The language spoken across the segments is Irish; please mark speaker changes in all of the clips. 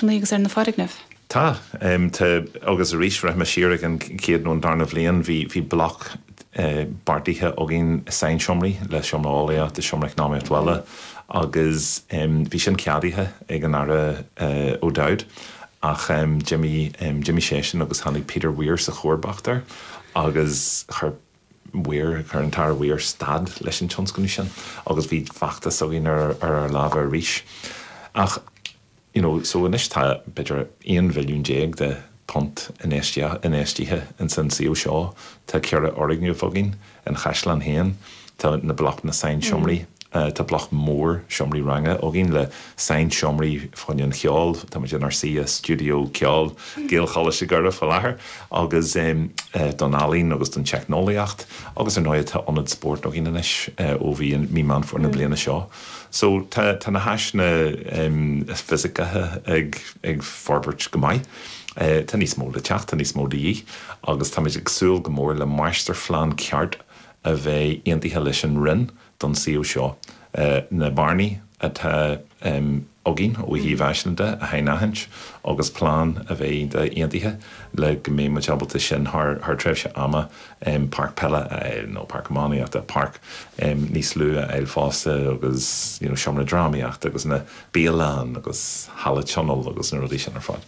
Speaker 1: Agus ar na foirgnimh.
Speaker 2: Tá. Tá. Agus arís, rachaidh mé siar ag an chéad nó an darna bhliain, bhí, bhí bloc beartaithe againn sainseomraí le seomra eolaíochta, seomra eacnamaíocht bhaile agus bhí sin ceadaithe ag an Aire O'Dowd ach d'imigh, d'imigh seisean agus tháinig Peter Weir sa chomharbacht air agus chuir Weir, chuir an tAire Weir stad leis an tionscnamh sin agus bhí feachtas againn ar ár lámha arís. Ach. You know, so anois tá b'fhéidir 11 mhilliún de phunt infheistithe ins an suíomh seo. Tá 4 fhoirgneamh againn, an chaisleán féin, tá na blocanna sainseomraí, tá bloc mór seomraí ranga againn le sainseomraí fá choinne an cheoil, tá muid inár suí i stiúideo ceoil Gaelcholáiste Dhoire faoi láthair, agus don ealaín agus don teicneolaíocht agus ar ndóigh tá ionad spóirt againn anois ó bhí mí Meán Fómhair na bliana seo. So tá tá na háiseanna fisiceacha ag ag forbairt go maith. Tá níos mó le teacht, tá níos mó de dhíth agus táimid ag súil go mór le máistirphlean ceart a bheidh aontaithe leis an Roinn don suíomh seo. Na bearnaí atá againn ó thaobh áiseanna de a shainaithint agus plean a bheidh aontaithe le go mbeidh muid ábalta sin thar thar tréimhse ama páirc peile a fháil nó páirc iománaíochta, páirc níos lú a fháil fosta agus you know seomra drámaíochta agus na bialann agus halla tionóil agus na rudaí sin ar fad.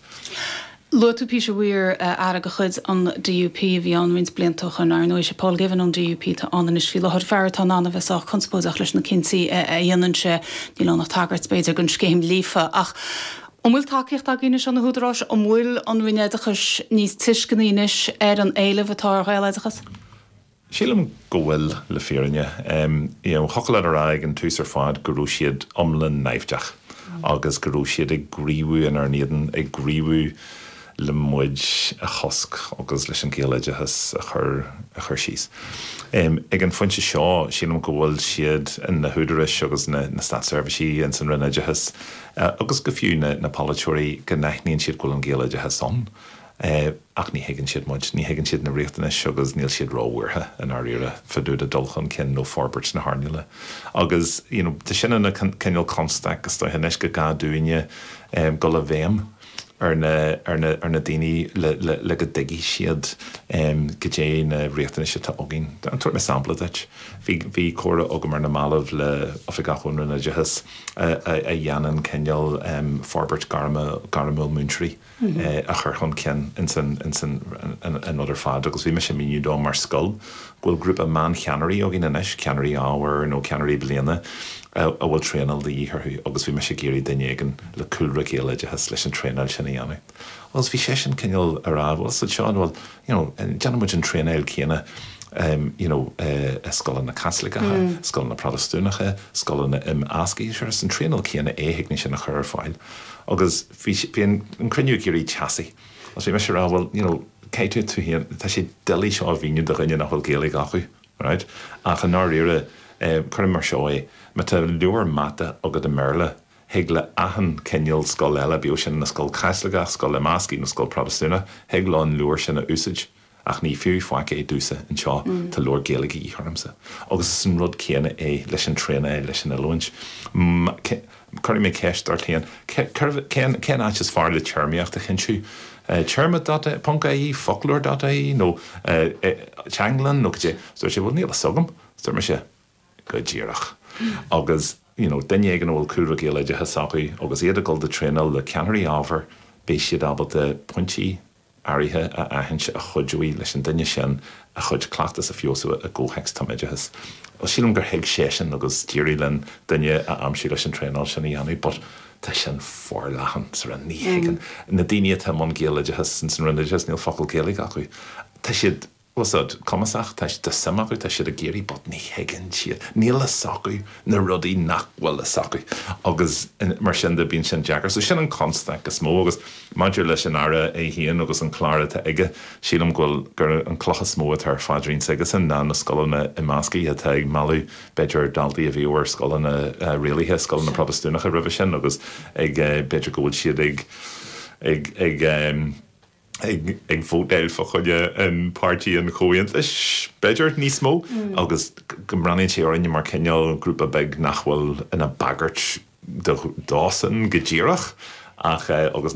Speaker 1: Luaigh tú Peter Weir, aire de chuid an DUP a bhí ann roinnt blianta ó shoin. Ar ndóigh, is é Paul Givan ón DUP atá ann anois faoi láthair, fear atá in ann a bheith sách conspóideach leis na cinntí a dhéanann sé. Níl ann ach tagairt, b'fhéidir, don scéim Líofa. Ach an bhfuil tacaíocht againn anois ó na húdaráis? An bhfuil an Roinn Oideachais níos tuisceanaí anois ar an éileamh atá ar Ghaeloideachas?
Speaker 2: Sílim go bhfuil, le fírinne. You know, thiocfadh leat a rá ag an tús ar fad go raibh siad iomlán naimhdeach agus go raibh siad ag gníomhú inár n-éadan, ag gníomhú le muid a chosc agus leis an Ghaeloideachas a chur, a chur síos. Ag an phointe seo, sílim go bhfuil siad, na húdaráis agus na, na státseirbhísigh ins an Roinn Oideachais agus go fiú na, na polaiteoirí, go n-aithníonn siad go bhfuil an Gaeloideachas ann. Ach ní thuigeann siad muid, ní thuigeann siad na riachtanais agus níl siad róbhuartha i ndáiríre fá dtaobh de dul chun cinn nó forbairt na hearnála. Agus you know tá sin ina cineál constaic is dóiche anois go gá dúinne dul i bhfeidhm ar na ar na ar na daoine le le le go dtuigfidh siad goidé na riachtanais atá againn. Tabharfaidh mé sampla duit. Bhí bhí comhrá agam ar na mallaibh le oifigeach ón Roinn Oideachais a a a dhéanann cineál forbairt gairme gairmiúil múinteoirí. a chur chun cinn ins an ins an an rud ar fad agus bhí mise ag míniú dó mar scoil go bhfuil grúpa meáncheannairí againn anois, ceannairí ábhair nó ceannairí bliana a bhfuil traenáil de dhíth orthu agus bhí mise ag iarraidh duine éigin le cúlra Gaeloideachais leis an traenáil sin a dhéanamh. Agus bhí seisean cineál ag rá bhuel so seo bhuel you know déanann muid an traenáil céanna you know i scoileanna Caitliceacha, scoileanna Protastúnacha, scoileanna imeasctha, sure is an traenáil céanna é thig linn sin a chur ar fáil agus Bhí, bhí an cruinniú ag éirí teasaí agus bhí mise ag rá bhuel, you know, caithfidh tú tú féin, tá sé doiligh seo a mhíniú do dhuine nach bhfuil Gaeilge acu, right? Ach i ndáiríre, cuirim mar seo é, má tá leabhar mata agat i mBéarla, thig le achan cineál scoil eile, bíodh sin ina scoil Chaitliceach, scoil imeasctha nó scoil Protastúnach, thig leo an leabhar sin a úsáid. Ach ní fiú faic é domhsa anseo, tá leabhar Gaeilge de dhíth ormsa. Agus is an rud céanna é leis an traenáil, leis an oiliúint. Cuirfidh mé ceist ort féin, cén cén áit is fearr le téarmaíocht a chinntiú? Téarma dot ponc ie, foclóir dot ie nó teanglann nó cad é? Dúirt sé, bhuel níl a fhios agam. Dúirt mise, go díreach. Agus you know duine éigin a bhfuil cúlra Gaeloideachais acu agus iad ag dul do traenáil le ceannairí ábhair, beidh siad ábalta pointí áirithe a aithint a chuideoidh leis an duine sin a chuid cleachtas a feabhsú i gcomhthéacs tumoideachais. Bhuel, sílim gur thuig seisean agus d'éirigh linn duine a aimsiú leis an traenáil sin a dhéanamh but tá sin forleathan sa Roinn. Ní thuigeann na daoine atá i mbun Gaeloideachas ins an Roinn Oideachais, níl focal Gaeilge acu. Tá siad. Bhfuil a fhios agat, cumasach, tá tá suim acu, tá siad ag iarraidh but ní thuigeann siad, níl a fhios acu na rudaí nach bhfuil a fhios acu agus mar sin de bíonn sin deacair. So sin an constaic is mó agus maidir leis an Aire é féin agus an clár atá aige, sílim go bhfuil, gur an cloch is mó atá ar phaidrín s'aigesan ná na scoileanna imeasctha atá ag mealladh b'fhéidir daltaí a bhíodh ar scoileanna rialaithe, scoileanna Protastúnacha roimhe sin agus ag b'fhéidir go bhfuil siad ag ag ag ag vótáil fá choinne an Páirtí an Chomhaontais, b'fhéidir, níos mó, agus go mbreathnaíonn sé orainne mar cineál grúpa beag nach bhfuil ina bagairt dósan go díreach. Ach, agus níl.